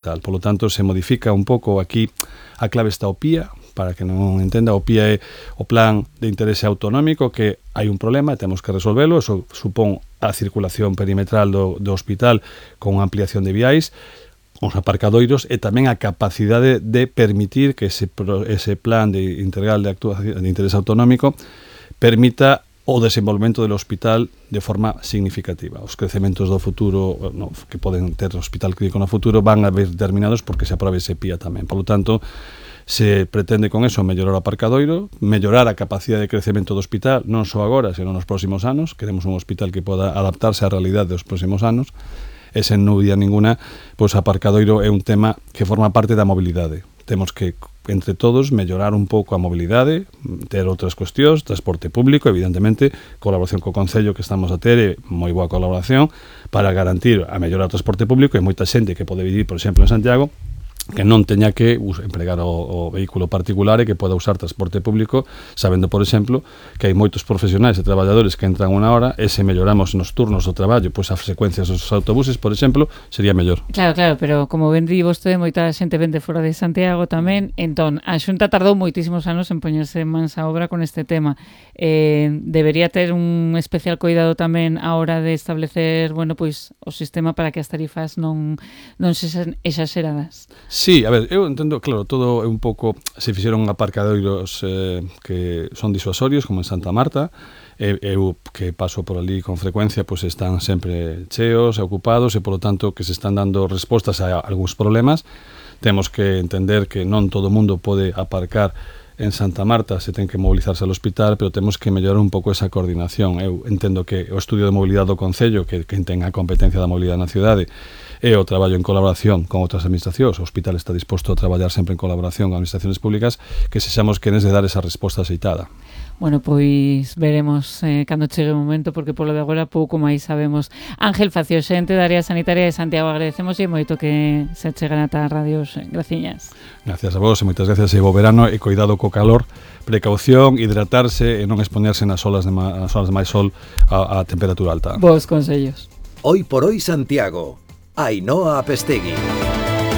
Por lo tanto, se modifica un pouco aquí a clave está o PIA, para que non entenda, o PIA é o Plan de Interese Autonómico, que hai un problema e temos que resolvelo, eso supón a circulación perimetral do hospital con unha ampliación de viais, os aparcadoiros e tamén a capacidade de permitir que ese plan de integral de actuación de interese autonómico permita o desenvolvemento do hospital de forma significativa. Os crecementos do futuro que poden ter o hospital clínico no futuro van a ver determinados porque se aprobe ese PIA tamén. Por lo tanto, se pretende con eso mellorar o aparcadoiro, mellorar a capacidade de crecemento do hospital, non só agora, senón nos próximos anos. Queremos un hospital que poda adaptarse á realidade dos próximos anos. E sen dúbida ninguna, pois aparcadoiro é un tema que forma parte da mobilidade. Temos que, entre todos, mellorar un pouco a mobilidade, ter outras cuestións, transporte público, evidentemente, colaboración co Concello que estamos a ter, moi boa colaboración, para garantir a mellora do transporte público e moita xente que pode vivir, por exemplo, en Santiago, que non teña que empregar o vehículo particular e que poda usar transporte público, sabendo, por exemplo, que hai moitos profesionais e traballadores que entran unha hora e se melloramos nos turnos do traballo, pois as frecuencias dos autobuses, por exemplo, sería mellor. Claro, pero como ben di vostede, moita xente vende fora de Santiago tamén, entón, a Xunta tardou moitísimos anos en poñerse en mans a obra con este tema. Debería ter un especial cuidado tamén a hora de establecer, pois, o sistema para que as tarifas non sexan exaxeradas. Sí, a ver, eu entendo, claro, todo é un pouco, se fixeron aparcadoiros que son disuasorios, como en Santa Marta, eu que paso por ali con frecuencia, pois están sempre cheos e ocupados e, polo tanto, que se están dando respostas a algúns problemas. Temos que entender que non todo o mundo pode aparcar en Santa Marta, se ten que mobilizarse ao hospital, pero temos que mellorar un pouco esa coordinación. Eu entendo que o estudio de mobilidade do Concello, que ten a competencia da mobilidade na cidade, e o traballo en colaboración con outras administracións, o hospital está disposto a traballar sempre en colaboración con administracións públicas, que sexamos quenes de dar esa resposta aceitada. Bueno, pois veremos cando chegue o momento, porque polo de agora pouco máis sabemos. Ángel Facio, xente da Área Sanitaria de Santiago, agradecemos e moito que se achegan ata a radios. Graciñas. Gracias a vos e moitas gracias. E bo verano e cuidado co calor, precaución, hidratarse e non exponerse nas olas de máis sol a temperatura alta. Vos consellos. Hoy por hoy Santiago. Ainhoa Apestegui.